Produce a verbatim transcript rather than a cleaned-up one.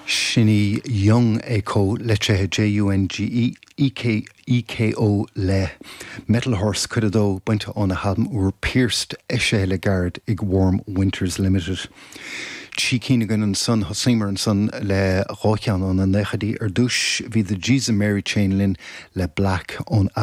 Sin í Jung Eko litrithe J U N G E E K E K O le Metal Horse, cuid a dó, bainte óna halbam úr Pierced, eisithe le gairid ag Warm Winters Limited. Trí cinn againn ansan. Thosaíomar ansan le dhá cheann ó na naochaidí. Ar dtús bhí The Jesus Mary Chain linn le Black ón albam